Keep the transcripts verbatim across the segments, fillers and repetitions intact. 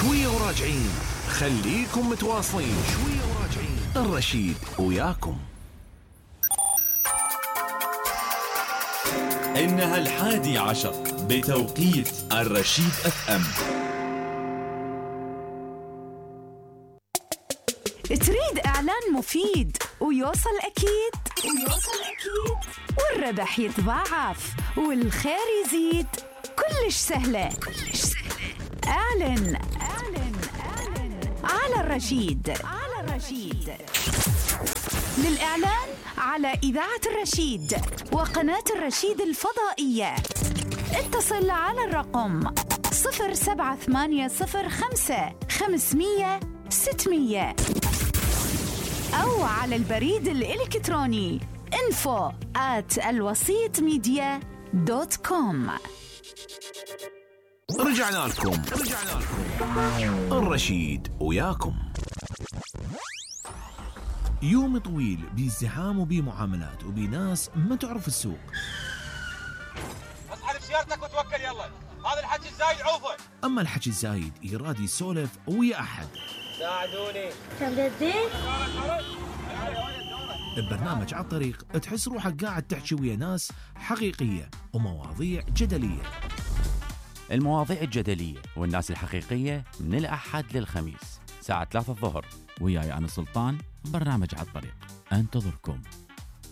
شوية وراجعين، خليكم متواصلين. شوية وراجعين، الرشيد وياكم. إنها الحادي عشر بتوقيت الرشيد اف ام. تريد إعلان مفيد ويوصل أكيد ويوصل أكيد والربح يتضاعف والخير يزيد؟ كلش سهلة كلش سهلة. اعلن اعلن اعلن على الرشيد على الرشيد. للإعلان على إذاعة الرشيد وقناة الرشيد الفضائية اتصل على الرقم صفر سبعة ثمانية صفر خمسة خمسمية ستمية أو على البريد الإلكتروني info at الوسيط ميديا دوت كوم. رجعنا لكم رجعنا لكم الرشيد وياكم. يوم طويل بازدحام وبمعاملات وبناس ما تعرف السوق. اسحب سيارتك وتوكل يلا، هذا الحكي الزايد عوفه. اما الحكي الزايد يراد يسولف ويا احد. ساعدوني. تبدين؟ ببرنامج على الطريق تحس روحك قاعد تحكي ويا ناس حقيقية ومواضيع جدلية. المواضيع الجدلية والناس الحقيقية من الأحد للخميس ساعة ثلاثة الظهر، وياي أنا سلطان. برنامج على الطريق انتظركم،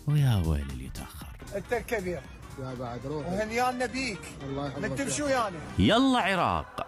ويا ويل اللي يتأخر. انت الكبير يا بعد روح وهنيانا بيك. الله يحفظك. نتمشوا يعني. يلا عراق،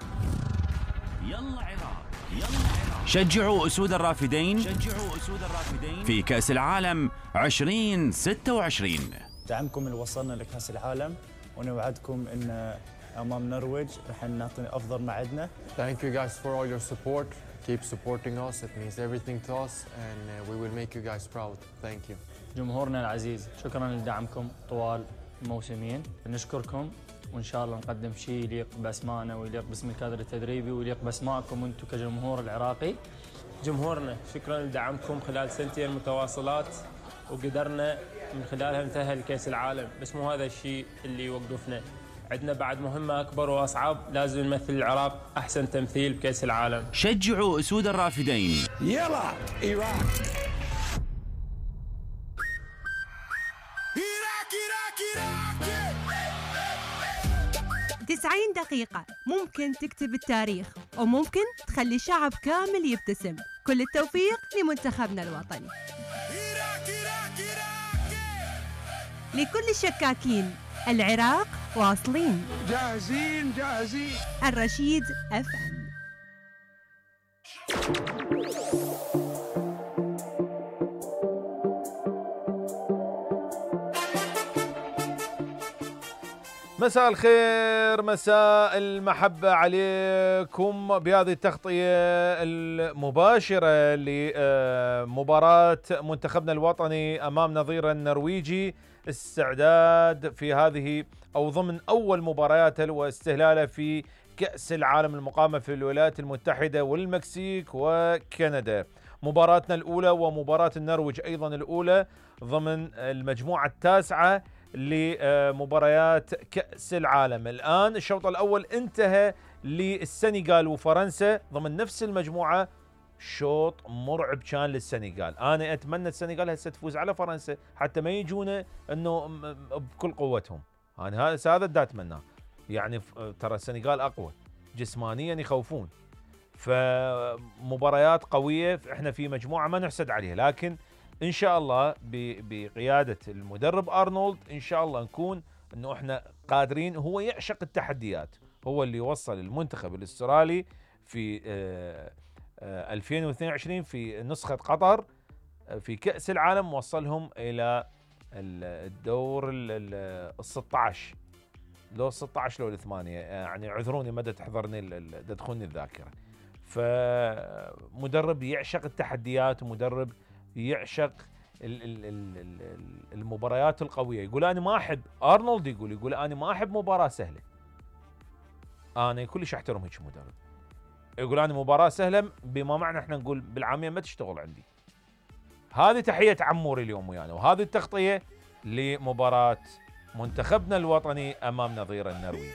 يلا عراق، يلا عراق. شجعوا أسود الرافدين، شجعوا أسود الرافدين في كأس العالم عشرين ستة وعشرين. دعمكم اللي وصلنا لكأس العالم، ونوعدكم ان امام النرويج رح نعطي افضل ما عندنا. Thank you guys for all your support. Keep supporting us. It means everything to us and uh, we will make you guys proud. Thank you. جمهورنا العزيز، شكرا لدعمكم طوال الموسمين. نشكركم وان شاء الله نقدم شيء يليق باسمائنا ويليق باسم الكادر التدريبي ويليق باسمائكم انتم كجمهور العراقي. جمهورنا شكرا لدعمكم خلال سنتين متواصلات، وقدرنا من خلالها نتأهل لكأس العالم، بس مو هذا الشيء اللي يوقفنا. عندنا بعد مهمة أكبر وأصعب، لازم نمثل العراق أحسن تمثيل بكأس العالم. شجعوا أسود الرافدين. يلا إيراك. تسعين دقيقة ممكن تكتب التاريخ وممكن تخلي شعب كامل يبتسم. كل التوفيق لمنتخبنا الوطني. لكل الشكاكين، العراق واصلين. جاهزين جاهزين. الرشيد اف ام. مساء الخير، مساء المحبة عليكم بهذه التغطية المباشرة لمباراة منتخبنا الوطني أمام نظيره النرويجي، استعداد في هذه أو ضمن أول مبارياته واستهلاله في كأس العالم المقامة في الولايات المتحدة والمكسيك وكندا. مباراتنا الأولى ومباراة النرويج أيضا الأولى ضمن المجموعة التاسعة لمباريات كأس العالم. الآن الشوط الأول انتهى للسنغال وفرنسا ضمن نفس المجموعة. شوط مرعب كان للسنغال. أنا أتمنى السنغال هسه تفوز على فرنسا حتى ما يجونا أنه بكل قوتهم. أنا هذا هذا دا أتمناه. يعني ترى السنغال أقوى جسمانيا، يخوفون. فمباريات قوية، احنا في مجموعة ما نحسد عليها، لكن إن شاء الله بقيادة المدرب أرنولد إن شاء الله نكون أنه إحنا قادرين. هو يعشق التحديات، هو اللي وصل المنتخب الأسترالي في ألفين واثنين وعشرين في نسخة قطر في كأس العالم، وصلهم إلى الدور ال ستة عشر، لو ستة عشر لو الثمانية، يعني عذروني مدى تحضرني تدخلني الذاكرة. فمدرب يعشق التحديات ومدرب يعشق المباريات القوية. يقول أنا ما أحب، أرنولد يقول يقول أنا ما أحب مباراة سهلة. أنا كلش أحترم هيك مدرب. يقول أنا مباراة سهلة بما معنى إحنا نقول بالعامية ما تشتغل عندي. هذه تحية عموري اليوم ويانا، وهذه التغطية لمباراة منتخبنا الوطني أمام نظيره النرويج.